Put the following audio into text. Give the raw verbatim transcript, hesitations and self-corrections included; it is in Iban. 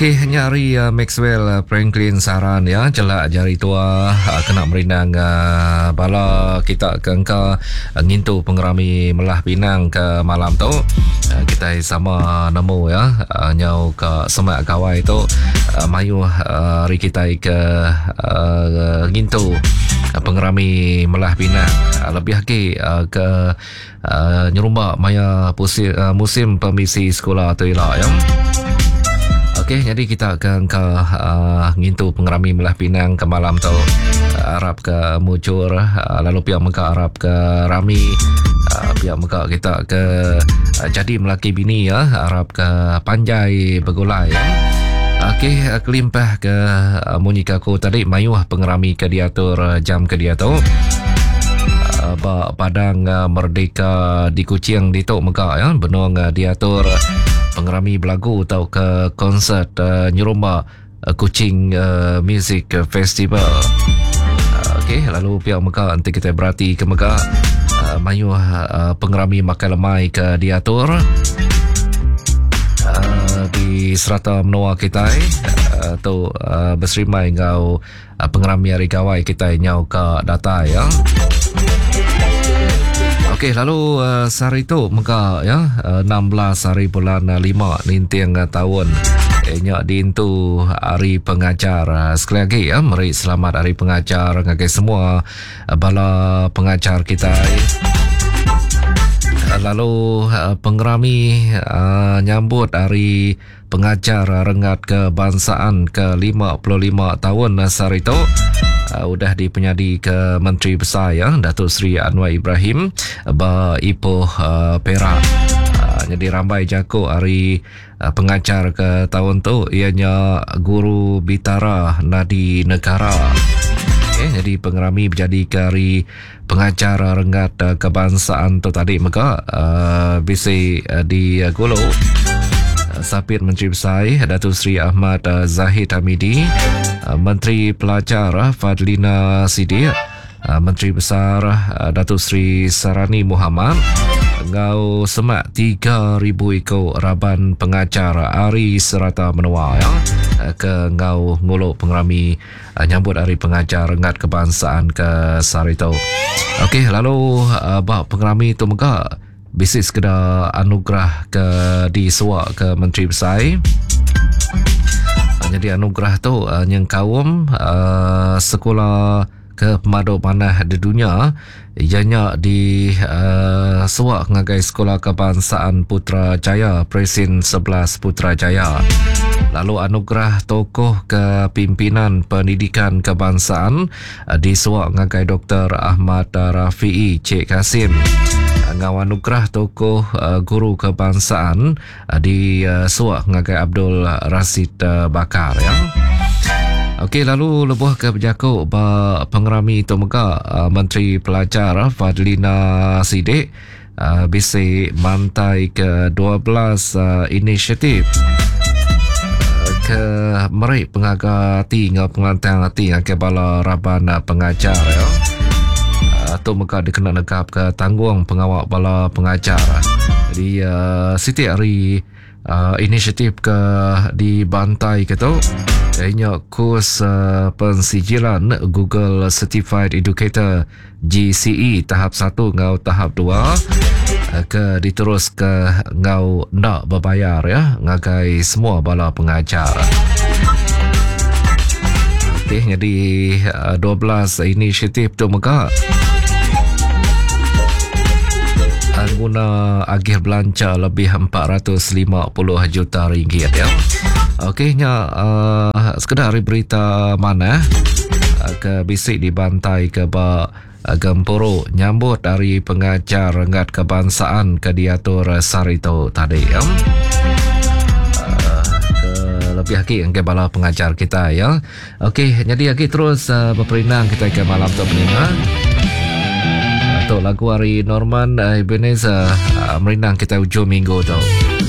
Okey, nya ari uh, Maxwell uh, Franklin Saran ya, celak jari tua uh, kena merindang uh, bala kita ke engka uh, ngintu pengerami melah pinang ke malam tu. Uh, kita sama nemu ya, uh, nyau ke semak gawai tu uh, mayuh uh, hari kita ke uh, ngintu uh, pengerami melah pinang. Uh, lebih lagi uh, ke uh, nyerumba maya pusi, uh, musim permisi sekolah tu ila ya. Okey, jadi kita akan ke uh, ngintu pengerami melah pinang ke malam tu. Uh, harap ke mujur, uh, lalu pihak mega harap ke rami, uh, pihak mega kita ke uh, jadi melaki bini ya, harap ke panjai bergulai ya. Okey, uh, kelimpah ke uh, munyi ke aku tadi mayuh pengerami ke diatur uh, jam ke dia tu. Uh, ba Padang uh, Merdeka di Kuching ditu mega ya, benung uh, diatur pengerami belagu atau ke konsert uh, nyerumba uh, Kuching uh, Music Festival. Uh, Okey, lalu pihak mega nanti kita berarti ke mega uh, mayuh uh, pengerami makan lemai ke diatur uh, di serata menua kita uh, tu uh, berserimai ngau uh, pengerami hari gawai kita nyau ke data ya. Okey, lalu uh, sehari tu mega ya, uh, enam belas hari bulan uh, lima ninting uh, tahun eh, nyak diintu hari pengajar. Uh, sekali lagi ya, meri selamat hari pengajar ngagai semua uh, bala pengajar kita. Uh, lalu uh, pengerami uh, nyambut hari pengajar renggat kebangsaan ke lima puluh lima tahun uh, sehari tu. Uh, udah dipenyadi ke Menteri Besar ya, Datuk Seri Anwar Ibrahim ba Ipoh uh, Perak. Uh, jadi rambai jako hari uh, pengajar ke tahun tu ianya Guru Bitara Nadi Negara. Okay, jadi pengerami berjadi ke hari pengajar renggat uh, kebangsaan tu tadi mega uh, bisi uh, di uh, Gulu. Sapit Menteri Besar Datuk Seri Ahmad Zahid Hamidi, Menteri Pelajar Fadlina Sidik, Menteri Besar Datuk Seri Sarani Muhammad, ngau semak tiga ribu iko raban pengajar ari serata menua ya, ke ngau nguluk pengerami nyambut hari pengajar renggat kebangsaan ke sehari tu. Okey, lalu bab pengerami tu mega bisi sekeda anugerah ke disuak ke Menteri Besar. Jadi anugerah tu uh, nyengkaum uh, sekolah ke pemadu panah di dunia ianya di uh, suak ngagai Sekolah Kebangsaan Putrajaya Presin sebelas Putrajaya. Lalu anugerah tokoh kepimpinan pendidikan kebangsaan uh, disuak ngagai Doktor Ahmad Rafi'i Cik Kasim. Ngau anugerah tokoh uh, guru kebangsaan uh, di uh, suak ngagai Abdul Rasid uh, Bakar ya. Okey, lalu lebuh ke berjakuk ba pengerami tu mega uh, Menteri Pelajar Fadlina Sidik uh, bisi mantai ke dua belas uh, inisiatif uh, ke merik pengaga hati ngau pengelantang hati ke bala raban uh, pengajar ya. Tu mega dikena negap ke tanggung pengawal bala pengajar. Jadi uh, siti hari uh, inisiatif ke dibantai ke tu ianya kurs uh, pensijilan Google Certified Educator G C E tahap satu ngau tahap dua uh, ke diterus ke ngau ndak berbayar ya ngagai semua bala pengajar. Okey, jadi uh, dua belas inisiatif tu mega guna agih belanja lebih empat ratus lima puluh juta ringgit ya. Okey, nya uh, sekedar hari berita mana uh, ke bisik dibantai ke ba uh, gempuru nyambut dari pengajar renggat kebangsaan ke diatur sarito tadi ya. Uh, ke lebih lagi ke bala pengajar kita ya. Okey, jadi lagi terus uh, berperindang kita ke malam tu pendengar. Untuk lagu hari Norman uh, Ebenezer uh, merindang kita ujung minggu tu.